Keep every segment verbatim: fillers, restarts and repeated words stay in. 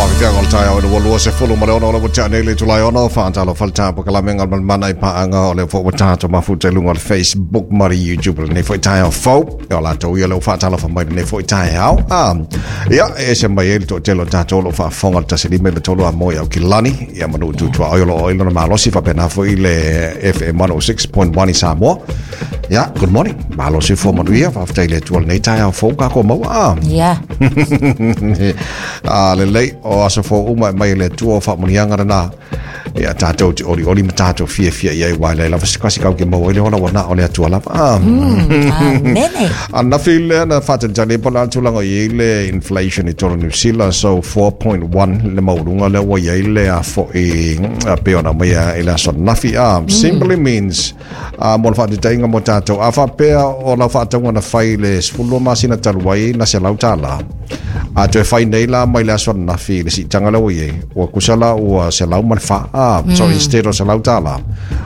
Whakawhianga o le taeao i le ua lua sefulu ma le ono o le ua tea nei le itula e ono. Whaatalofa le tāpakalaminga o le Malemana i paaga o le fo ua tātou mafuta i luga o le Facebook ma le YouTube lenei foi taeao fou. Ia o latou ia le ua whaatalofa mai lenei foi taeao. Ah, ia, e ese mai ai le toatele o tātou o lo o faafofoga le tasi lima i le tolu a moe au kilani. Ia manu tutua oi o lo o ilo na malosi faapena foi le F M one oh six point one i Samoa. Ia, good morning. Malosi fo manuia, faafetai i le Atua lenei taeao fou kako maua. Ah. Ia. A lelei o aso fou uma e mai e le Atua o faamuniaga lena. Ia tātou te oli oli ma tātou fia fia i ai wai lai lava se kasi kau ke maua i le ola ua na o le Atua lava. Ah. Amene. Anafi lea na whaatalitali po la tulaga i le inflation i tolo New Zealand, so four point one le mauluga lea ua iai le afo'i pei ona mai i le aso nafi a simply means a mo le faataitaiga mo tatou a faapea o lau faatauga na fai le sefulu masina talu ai na selau tālā a toe fai nei la mai le aso nafi le siitaga lea ua iai ua kusa la ua selau ma le fa a so instead o selau tālā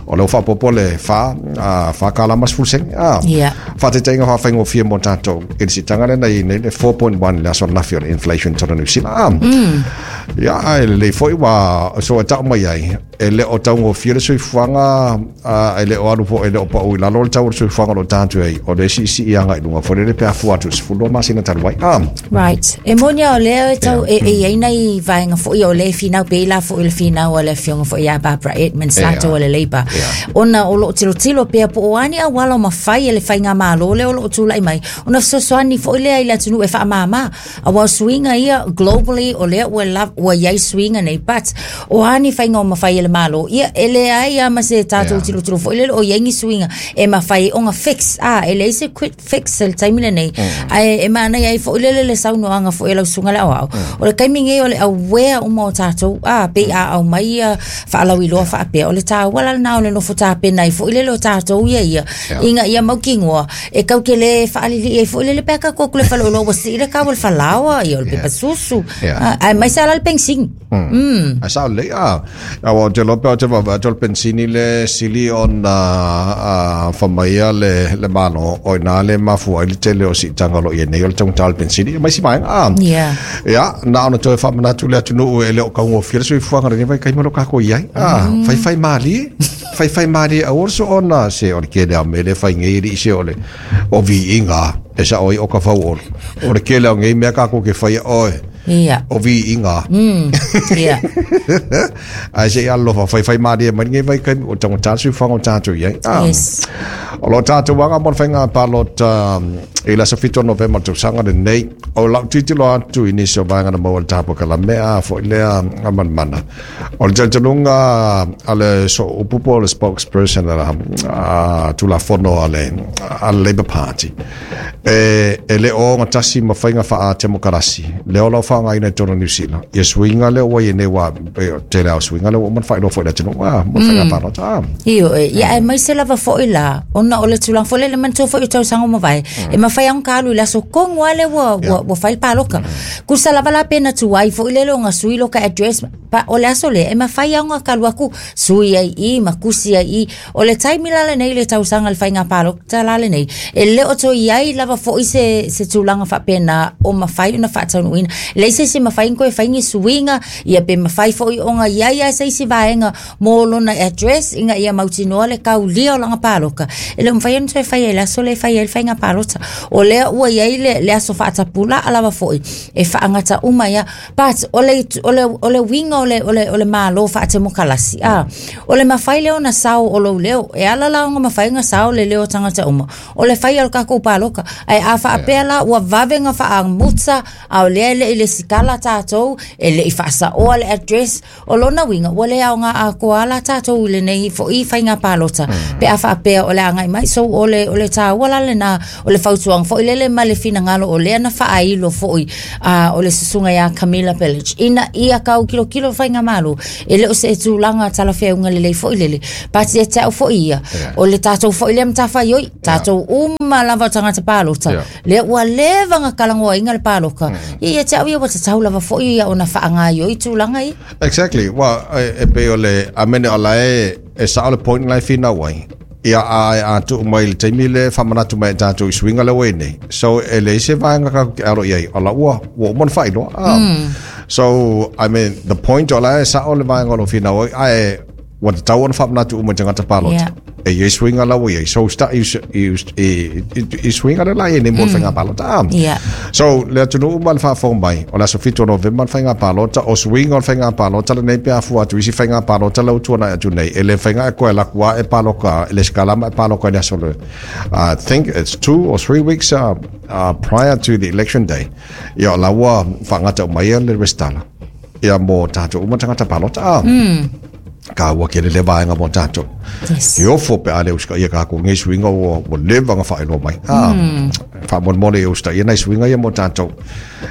o lea ua faapopo le fa a fa kala ma sefulu sene a Ia. faataitaiga faafaigofie mo tatou i le siitaga lea na iai nei le four point one le aso nafi o le inflation tolo New Zealand a ia e lelei foi ua so e tau mai ai e le o taugofie le soifuaga a e le o alu po e le o pau i lalo le tau o le soifuaga o lo tatou ai o le siisii aga i luga foi lele pe afua atu i le sefulu masina talu ai a Right. E moni o lea e tau e e iai nai vaega foi o le finau pe la foi le finau a le afioga foi ia Barbara Edmonds Ia. latou o le Labour. Ia. Ona o loo tilotilo pea po o ani auala o mafai e le faigamālō lea o loo tulai mai. Ona fesoasoani foi lea i le atunuu e faamāmā. Aua o suiga ia globally o lea ua la, ua iai suiga nei, but o ani faiga o mafai e le Malo. Ia e leai a ma se tatou Ia. tilotilo foi lele o iai ni suiga e mafai ona fix a e leai se quick fix i le taimi lenei. Ae e manaia ai foi lele le saunoaga foi e lau susuga le aoao. O le taimi nei o le aware uma o tatou a pei a au mai ia faalauiloa faapea o le taua la lena o le nofo tapena ai foi lele o tatou ia ia Ia. ina ia mautinoa e kau ke le faalilii ai foi lele pe a tatou atu le faleoloa ua sii le kau o le falaoa ia o le Ia. pepa susu. Ia. Ah, aemaise ala le penisini. Mm. A sao lelei a. Aua ou te iloa pe ou te vaavaai atu o le penisini le sili ona a, famaia le, le malo o ina le mafua ai le tele o siitaga o lo o iai nei o le taugata o le penisini ma isi vaega a. Ia. Ia, na ona toe faamanatu le atunuu e le o kaugofie le soifuaga lenei vaitaimi o lo kākou i ai. A, faifai mālie, faifai mālie aua le soona se o le kele ao mea le fai nei e li'i se o le o viiga e sao ai o ka fau olo. O le kele ao nei mea kākou ke faia oe Ia. o viiga. Mm. Ia. Ae se i alofa faifai mālie mai lenei vaitaimi o taugata le soifuaga o tatou i ai. Ah. Yes. O lo tātou aga mo le faiga palota um, i le aso fitu o Novema tausaga lenei. O lau tilotilo atu i nisi o vaega na maua le tapuakalame a foi lea a Malemana. O le talitonuga a le so upu po o le spokesperson a, a Tulafono a le, a le Labour Party. E, e le o gatasi ma faiga faa-temokarasi. Lea o lau faaaogaina i totonu o New Zealand. Ia suiga lea ua ia nei ua e, tele ao suiga lea ua uma ona faailoa foi i le atunuu a mo le faiga palota. Ah. Io, e, ia aemaise lava foi la, ona o le tulaga foi lele manatua foi o tausaga ua mavae, e mafai ona ka alu i le aso tonu lava lea ua, ua, ua fai le paloka. Tusa lava la pe na tuai foi lele o sui lo ka address, pa, o le aso lea, e mafai ona ka alu atu sui ai i, ma kusi ai i. O le taimi la lenei le tausaga le faiga palota la lenei, e le o toe i ai lava foi se, se tulaga faapena o mafai ona faataunuuina. Leai se isi mafai ona toe fai ni suiga, ia pe mafai foi ona i ai a se isi vaega mo lona address ina ia mautinoa le kaulia o lana paloka. E le o mafai ona toe fai ai le aso lea e fai ai le faiga palota. O lea ua i ai le, le aso faatapulaa lava foi e faagata uma ia. But o le, o le, o le uiga o le, o le, o le malo faatemokalasi. Ah, o le mafai lea ona sao o lou leo. E ala la ona mafai ona sao le leo o tagata uma. O le fai o le kākou paloka. Ae a faapea la ua vave ona faamuta a o lea e le i le sikala tatou, e le i faasaoa le address, o lona uiga ua le aoga atoa la tatou i lenei foi faiga palota. Pe a faapea o le agai mai. So o le, o le taua la lena o le fautuaga foi lele ma le finagalo o lea na faailo foi a o le susuga ia Camilla Village. Ina ia kau kilokilo faiga malo e le o se tulaga talafeauga lelei foi lele. But e te au foi ia. O le tatou foi lea matafaioi, tatou uma lava o tagata palota. Yeah. Lea ua leva ona kalagoaina le paloka. Ia ia te au ia ua tatau lava foi ia ona faagaioi tulaga ia. Exactly. Well, e, e pei o le a mene o la e e sao le point lai finau ai. Ia a a tu mai le taimi le whamanatu mai tātou i suiga le ua i nei. So e leai se vaega ka ke aro i ai. O la ua ua uma ona faailoa. Ah. So I mean the point o la e sa o le vaega o lo finau ai ua tatau ona faamanatu uma i tagata palota. E iai suiga la ua iai. So sta i i i suiga le la iai nei mo le faiga palota. Yeah. So le atunuu ma le faafofoga mai o le aso fitu o Novema le faiga palota o suiga o le faiga palota lenei pe afua atu isi faiga palota lau tuanai atu nei e le faiga e koe laku a e paloka le skalama e paloka i le aso le I think it's two or three weeks uh, uh, prior to the election day. Ia la ua faagata uma ia le resitala. Ia mo tatou uma tagata palota. Mm. Ka ua kele le vaega mo tātou. Yes. Ke ofo pe ale uska ia ka ko ngai suiga ua ua leva nga whaeloa mai. Ah, Mm. Whaamonemone e usta ia nai suiga ia mo tātou.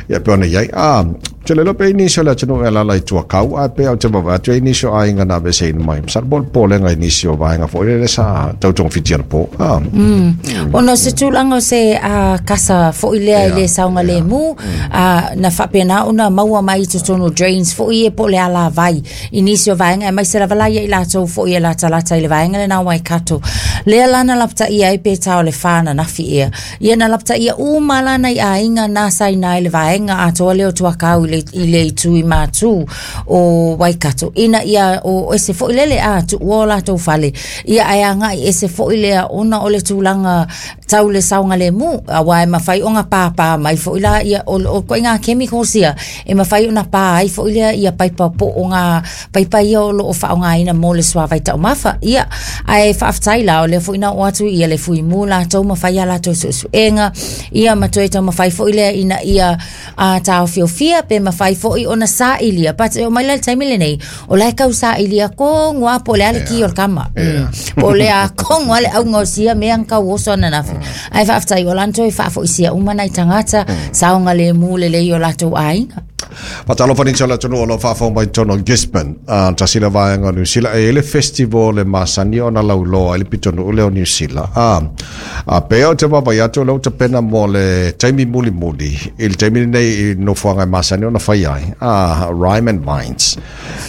Ia pe ona iai. Ah, te lelo pe nisi o le atunu e lala i tuakau a pe au te mawa atu e nisi o aiga na vese ina mai. Sa bol pōlenga i nisi o vaenga fo ile sa tautonga whiti ana pō. Ah. Mm. Ona se tūlanga o se uh, kasa fo i lea i le saunga le mu, uh, na whapena ona maua mai totonu drains fo i e po le ala vai i nisi o vaenga e mai se lava lai i lātou fo i e lata lata i le vaenga le nā Waikato. Lea lana lapta ia e pe tau le whana nafi ea. Ia na lapta ia uma lana i aiga nā sai nā i le vaenga a toa leo tuakau i le, i le tui mātū o Waikato. Ina ia o ese fo i lele a tu o lātou fale. Ia ai anga i ese fo i lea ona o le tūlanga tau le saunga le mu. A wai mawhai o ngā pāpā mai fo i la ia o, o koe ngā chemicals ia. E mawhai o ngā pā ai fo i lea ia paipa po o ngā paipa ia o lo o wha o ngā ina mō le suavai tau mafa. Ia ai whaaftai la o le fo ina o atu ia le fui mū lātou mawhai a lātou suesuenga. Ia matoe tau mawhai fo i lea ina ia a tāo fiofia pe mawhai fo i ona sa ilia. But o mai le taimi le nei, o lai kau sa ilia ko ngua po le ale ki o le kama. Yeah. Mm. Po le a ko ngua le au ngosia me ang kau oso ana nafi. Ai whaaftai o lanto i whaafo isia umana i tangata saonga le mū le lei o lātou aiga. Whatalofa ni tala tonu o lo whaafo mai tono Gisborne. Uh, tasila vaenga New Zealand. E ele festival le masani o na lauloa ele pitonu ule o New Zealand. Ah, a peo te wawai atu leo te pena mo le taimi muli muli. I le taimi nei i nofoanga masani o na whai ai. Ah, Rhyme and Vines.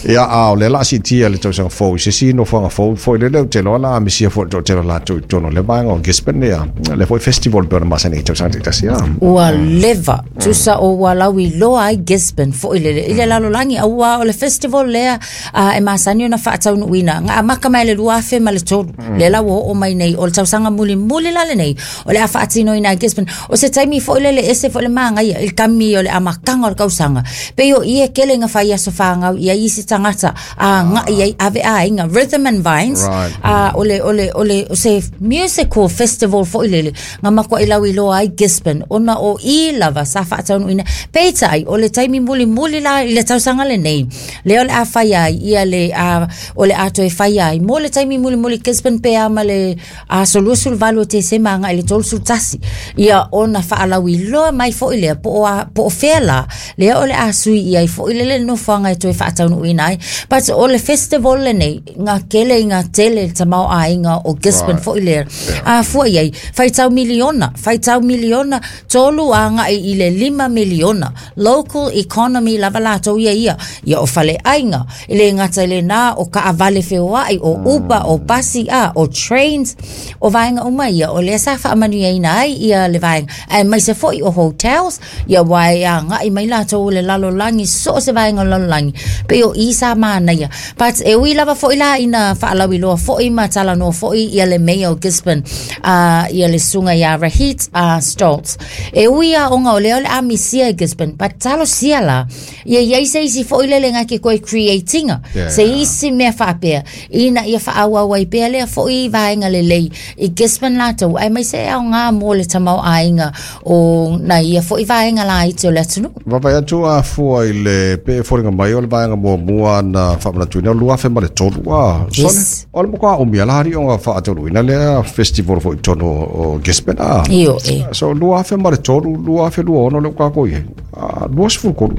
Ia a o le la si tia le tausanga fou. Se si nofoanga fou fo le leo te loa la amisia fo te loa la tu tono le vaenga o Gisborne ia. Le foi festival pe o na masani i tausanga te ah. Ua leva tusa o ua laui loa ai Gisborne fo i le i le lalolangi a ua o le festival lea uh, e masani ona whaataunuina ngā maka mai le lua afe ma le tolu le la ua o mai nei o le tausaga muli muli la le nei o le a whaatino ina Gisborne o se taimi fo i le le ese fo le maanga ia il kami o le amakanga o le kausanga pe o ie kele ngā whai aso whaangau ia isi tangata a ngā ia ave a inga Rhythm and Vines Right. a o le o le o le o se musical festival fo i le le ngā makua i lau i loa ai Gisborne ona o i lava sa whaataunuina peita ai o le taimi muli muli la i le tausanga le nei le o le a whai ai ia le a o le ato e whai ai mo le taimi muli muli Gisborne pe ama le a solusul valu te se manga i le tolu tasi ia ona whaalau i loa mai fo i lea po o a po o whea le o le a sui ia i fo i le le nofoanga e toe whaataunuina ai but o le festival le nei ngā kele i ngā tele tamau a inga o Gisborne Right. fo i lea a fua iai whaitau miliona whaitau miliona tolu a ngā i le lima miliona local economy lava lātou ia ia ia o fale ainga i le ngata i le nā o ka awale wheoai o Uber o basi a o trains o vaenga uma ia o lea sa whaamanu ina ai ia le vaenga ai mai se foi o hotels ia wai a ngai mai lātou o le lalolangi so se vaenga o lalolangi pe o isa mana ia but e ui lava foi la ina whaalawi loa foi ma tala noa foi ia le mayor o Gisborne uh, ia le sunga ia Rahit uh, Stoltz e ui a onga o leo le amisia i Gisborne but talo sia la ia ia ise isi foi lele ngā ke koe creatinga Yeah. se isi mea whaapea ina ia whaawau ai pea lea foi vaenga le lei i Gisborne lātou ai mai se au ngā mō le tamau ainga o na ia foi vaenga la i te o le atunu Wapai atu a fua i le pe foringa mai o le vaenga mua mua na whaamanatuina o lua whe ma le tolu a Yes. sone o le mokoa o mia lahari o ngā whaataunuina lea festival fo i tono o Gisborne a Io e so lua whe ma le tolu lua whe lua ono le ukako i a lua sifuru kolu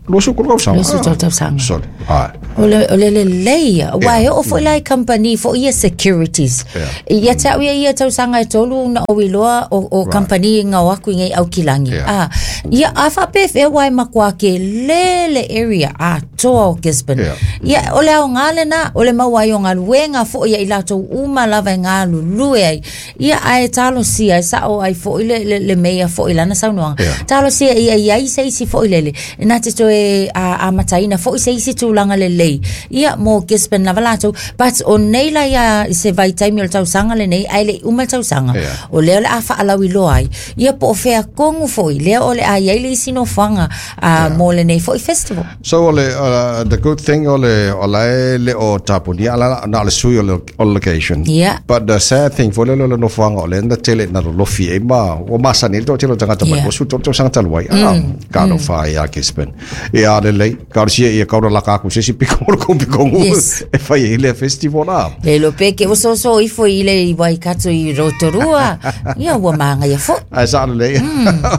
lua sifuru kolu kausanga Lua sifuru tolu tausaga. Sole Ai. O le o le lelei ia. Ua e oo foi la i company foi ia securities. Yeah. Ia te au ia ia tausaga e tolu na o iloa o, o company i ngau aku i ngei au kilangi. Yeah. Ah, ia a whaapewhea wai makua ke lele area a toa o Gisborne. Yeah. Ia o le ao ngā lena, o le mau ai o ngā luenga fo ia i lātou uma lava i ngā lulue ai. Ia ae talo sia, e sao ai fo i le, le, le meia fo i lana saunoanga. Yeah. Talo sia ia ia i se isi fo i lele. Nā te toe a, a mataina fo i se isi tūlanga le lei. Ia mō Gisborne lava lātou. But o nei la ia i se vai taimi o le tausaga le nei, ai le uma le tausaga. Yeah. O lea o le a whaalau i loa ai. Ia po o whea kongu fo i lea o le a iai le isi no whanga a, mō le nei fo i festival. So ole uh, the good thing ole ola e le o tapunia ala na le sui o le o location. Yeah. But the sad thing for le le no fanga ole na tele na lo fi e ma o masa ni to tele tangata mai Yeah. o su to to sanga talwai. Ah ka no fa ya Gisborne. E a le le ka si e ka la ka ku se si piko ko piko Yes. e fa i le festival la. Le lo peke o so so ifo i le i Waikato i Rotorua. Ia ua maanga ia fo. Ai sa le.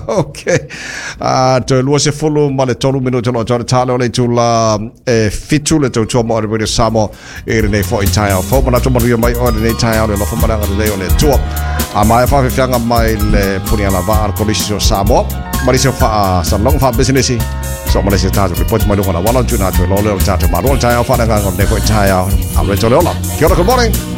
Okay. Ah to lua se fulu ma le tolu minuto lo tole tale o le tula e fitu le tau tua mo le radio Samoa e le nei fo i tai au fo mana to manuia mai o le nei tai au le lofo mana le lei o le tua. A mai fa fianga mai le puni ala va al kolisi o Samoa. Marisi o fa sa long fa business so ma le se tato report mai lunga la wala tuna to lo le o tato ma lo tai au fa na ngā nei fo i tai au. Am le tole ola. Kia ora, good morning.